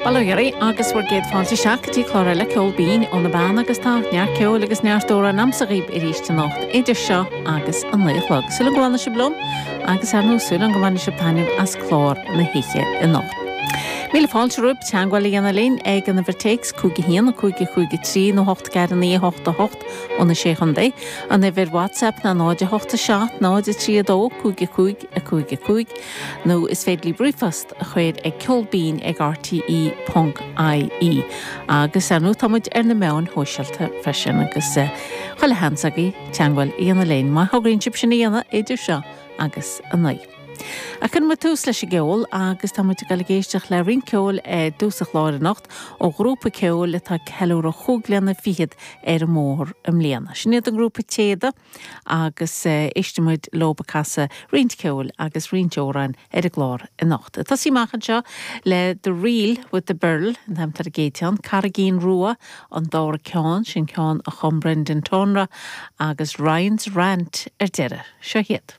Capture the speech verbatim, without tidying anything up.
Bail ó Dhia oraibh agus bhur gcéad fáilte isteach go dtí clár eile Ceol Binn ó na Beanna agus tá neart ceoil agus neart amhrán agamsa dhaoibh arís anocht idir seo agus an naoi a chlog. Súil go bhfanfaidh sibh liom agus ar ndóigh súil go mbainfidh sibh taitneamh as clár na hoíche anocht. Míle fáilte romhaibh teagmháil a dhéanamh linn ag an uimhir téacs cúig a haon cúig cúig trí nó hocht ceathair naoi hocht a hocht ó na sé chontae, an uimhir WhatsApp ná náid a hocht a seacht náid a trí a dó cúig a cúig a cúig a cúig nó is féidir libh ríomhphost a chur ag ceolbinn ag RTE ponc IE. Agus ar ndóigh táimid ar na meáin shóisialta freisin agus chuile sheans agaibh teagmháil a dhéanamh linn má thograíonn sibh sin a dhéanamh idir seo agus a naoi. A chun mu tús leis an gceol agus tá muid ag dul ag éisteacht le roinnt ceoil i dtús an chláir anocht ó ghrúpa ceoil atá ag ceiliúradh chúig bliana fichead ar an mbóthar i mbliana. Sin iad an grúpa Téada agus éistfimid leo ag casadh roinnt ceoil agus roinnt amhrán ar an gclár anocht. Tosóidh amach anseo le The Reel with the Birl an t-ainm ar an gcéad cheann, Carraigín Rua an dara ceann sin ceann a chum Brendan Tonra agus Ryan's Rant ar deireadh. Seo iad.